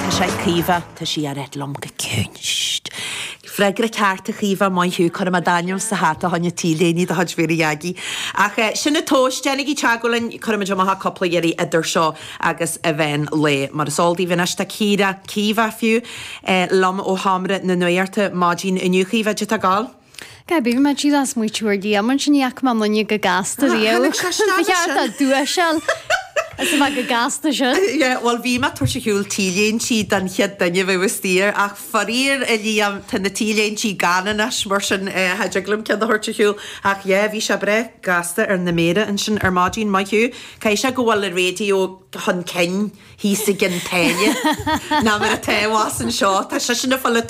Tá sé ag Caoimhe, tá sí á ráit liom go ciúin. Shh. Freagra ceart a Chaoimhe, maith thú, cuirfidh mé d'ainm sa hata fá choinne T-léine de chuid Mhéara Jeaicí. Ach sin an tomhas, déanaigí teagmháil linn, cuirfidh muid amach cúpla iarraidh idir seo agus an mheán lae. Mar is eol daoibh anois tá Ciara, Caoimhe fiú, liom ó Sheomra na Nuachta maidin inniu. Caoimhe, caidé tá ag gabháil? Gaby, bhí mé díreach ag smaoitiú ar Liam ansin, ní fhaca mé an duine chomh gasta riamh. Tháinig sé isteach Ba cheart ansin. dó dúiseáil as a bheith chomh gasta sin. Yeah, bhuel bhí mé ag tabhairt ar shiúl T-léintí don chéad duine a bheadh istigh ach faraor a Liam, tá na T-léintí gann anois mar sin cha dtig liom ceann a thabhairt ar shiúl. Ach yeah, bhí sé breá gasta ar na méara ansin ar maidin, maith thú. Caithfidh sé go bhfuil an raidió chun cinn thíos i gCionn tSáile ná mar atá abhus anseo. Tá seisean ag fáil an.